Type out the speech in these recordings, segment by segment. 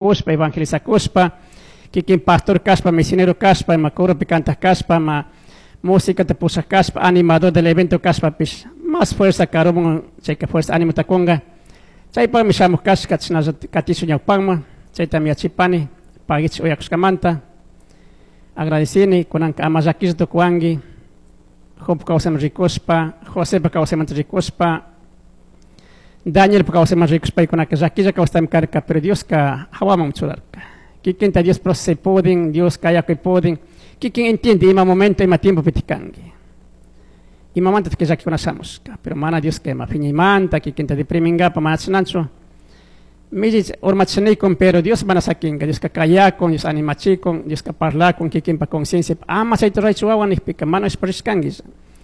Kuspa, evangelizakuspa, kikin pastor kaspa, misionero kaspa, ima coropi cantaq kaspa, ma musicata pusaq kaspa, animador del evento kaspapish, más fuerza karumun, chayka fuerza ánimo kunqa. Chaypaqmi shamuq kashka, chashnalla katishun ñawpaqman, chaytami yachipani, pagichik uyakushkamanta. Agradecini, kunanka ama llakilla tukuwanki, Job kawsayman rikuspa, Josepa kawsaymanta rikuspa, Danielpa kawsayman rikuspa, paykunaka llakilla kawsaytami karka, pero Dioska hawaman churarka. Kikinta Dios procesay pudin, Dios kayakuy pudin, kikin entiende ima momento, ima tiempo kanki. Imamanta que llakikuna shamushka, pero mana Dioska ima phiñaymanta, kikinta deprimingapa mana chinanchu. Millich urmachinikun, pero Dios mana sakinka, Dioska kayakun, Dios animachikun, Dioska parlakun, kikinpa conciencia, ama chayta ruraychu wawa nijpika, mana ishparishkanki.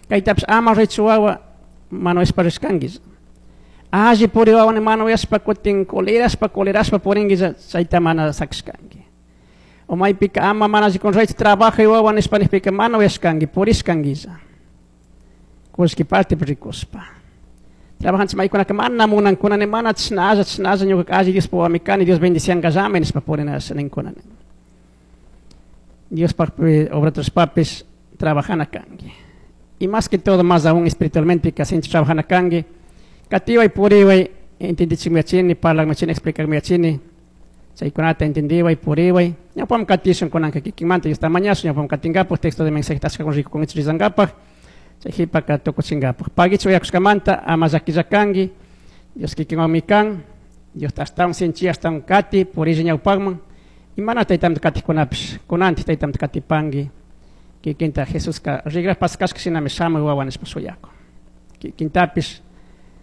Kaytapish ama ruraychu wawa, mana ishparishkanki. Alli puri wawa mana uyashpa kutin colerashpa, colerashpa purinki, chayta mana sakishkanki. O maypika ama mana alli ruraychu trabajo wawa nishpa nijpika, mana uyashkanki, purishkanki. Kullki parte rikuspa. Trabajanchik maykunaka mana munankunani, mana chashnalla, chashnalla ñuka alli Diospa wawami kani, Dios bendiciankallami nishpa purina ninkunani. Diospaj obra papis trabajana kanki. Y más que todo, más aún espiritualmente, que sinchi trabajana kanki. Katiway puriway, entendichikmi yachini, parlakmi yachini, explicakmi yachini. Chaykunata entendiway, puriway. Ñawpam katishun kunanka kikinmanta, Diosta mañashun, ñawpam katinkapak, texto de mensaje tashka rikukunkichik rizankapak. Chay qhipaka tukuchinkapak. Pagichik uyakushkamanta, ama llakilla kanki, Dios kikinwanmi kan, Diosta ashtawan sinchi, ashtawan kati, purilla ñawpakman. Y mana taytamta katikunapish, kunantik taytamta katipanki, kikinta Jesuska rigraj paskashka shinami shamuy wawa nishpa shuyakun. Kikintapish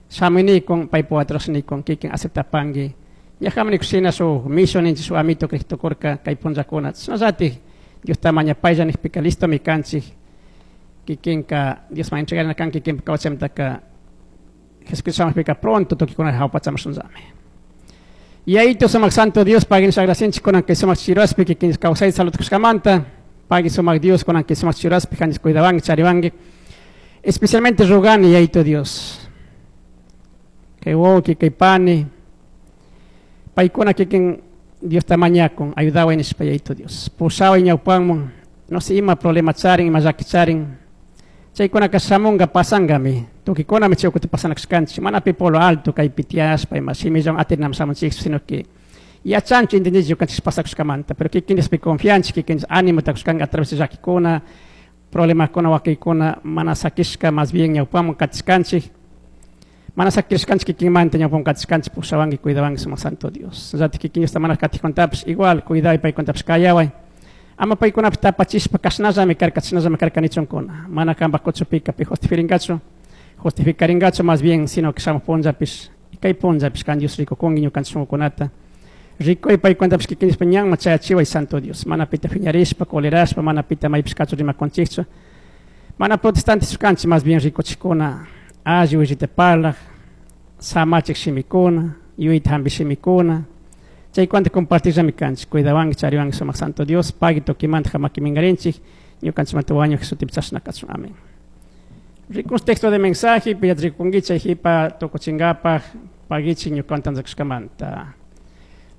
shamuy paypa watrashnikun, kikin aceptapanki. Ñajami nikushina shuk mishu ninchik, shuk amito kriq tukurka kay punllakuna. Chashnallatik Diosta mañapaylla nijpika listomi kanchik. Kikinka Diosman entregarina kan kikinpa kawsaymantaka Jesucristo shamujpika pronto tukuykuna jawpachaman shunllami. Yayito sumak santo Dios, pagui nisha agradecinchik kunan kay sumak chiraspi kikin kawsayta salud kushkamanta, pagui sumak Dios kunan kay sumak chiraspi kanchis cuidawanki, chariwanki. Especialmente rogani Yayito Dios, kay wawki, kay pani, paykuna kikin Diosta mañakun, ayudaway nishpa Yayito Dios. Pushaway ñawpanman, no sé ima problema charin, ima llaki charin. Chaykunaka shamunga pasangami, tukuykunami chay ukuta pasanakashkanchik, mana pi polo alto kaypi tiyashpa ima shimillawan atinami shamunchik, sino que yachanchik, entendinchik ñukanchik pasakushkamanta, pero kikin Diospi confianchik, kikin Dios ánimo kushkanka a través de llakikuna, problemakuna, wakiykuna, mana sakishka, más bien ñawpaman katishkanchik, mana sakishkanchik kikinmanta ñawpaman katishkanchik, pushawanki, cuidawanki, sumak santo Dios. Llatik kikin Diosta mana katijkuntapish, igual cuidaway paykunatapish kayaway. Ama paykunapish tapachishpa kashnallami karka, chashnallami karka nichunkuna. Mana kanpak kuchupika pi justificaringachu, justificaringachu más bien, sino que shamuj punllapish, kay punllapish kan Dios rikukunki ñukanchik shunkukunata. Rikuy paykunatapish kikin Diospa ñanman chayachiway santo Dios. Mana pita phiñarishpa, colerashpa, mana pita maypish kachu rimakunchikchu. Mana protestantes kanchik, más bien rikuchikuna, alli willita parlaj, samachik shimikuna, yuyayta hampi shimikuna. Chaykunata compartirllami kanchik, cuidawanki, chariwanki sumak santo Dios, pagui tukimanta hamaki minkarinchik, ñukanchikmanta wañuj Jesustipi chashna kachun. Amén. Rikus texto de mensaje, pilla rikunki chay jipa tukuchinkapaj, pagichik ñukantan tanzakushkamanta.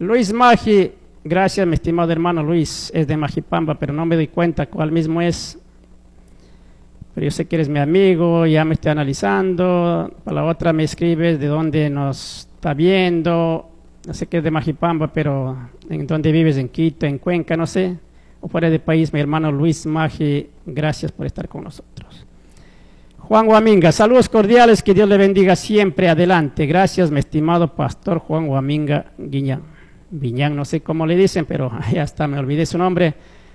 Luis Magi, gracias mi estimado hermano Luis, es de Majipamba, pero no me doy cuenta cuál mismo es. Pero yo sé que eres mi amigo, ya me estoy analizando. Para la otra me escribes de dónde nos está viendo. No sé qué es de Majipamba, pero en dónde vives, en Quito, en Cuenca, no sé. O fuera del país, mi hermano Luis Magi, gracias por estar con nosotros. Juan Guaminga, saludos cordiales, que Dios le bendiga siempre, adelante. Gracias, mi estimado pastor Juan Guaminga Guiñán. Viñán, no sé cómo le dicen, pero ya está, me olvidé su nombre.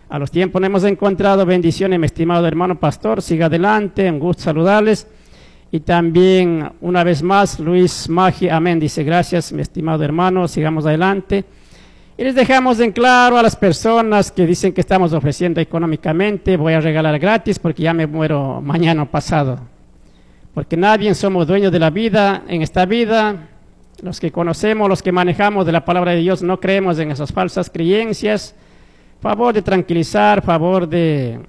A los tiempos nos hemos encontrado. Bendiciones, mi estimado hermano pastor. Siga adelante, un gusto saludarles. Y también, una vez más, Luis Magi, amén, dice gracias, mi estimado hermano, sigamos adelante. Y les dejamos en claro a las personas que dicen que estamos ofreciendo económicamente, voy a regalar gratis porque ya me muero mañana o pasado. Porque nadie somos dueños de la vida en esta vida. Los que conocemos, los que manejamos de la palabra de Dios, no creemos en esas falsas creencias. Favor de tranquilizar, favor de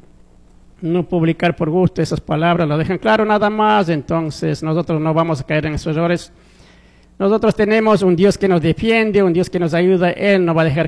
no publicar por gusto esas palabras, lo dejan claro nada más. Entonces nosotros no vamos a caer en esos errores. Nosotros tenemos un Dios que nos defiende, un Dios que nos ayuda, Él no va a dejar.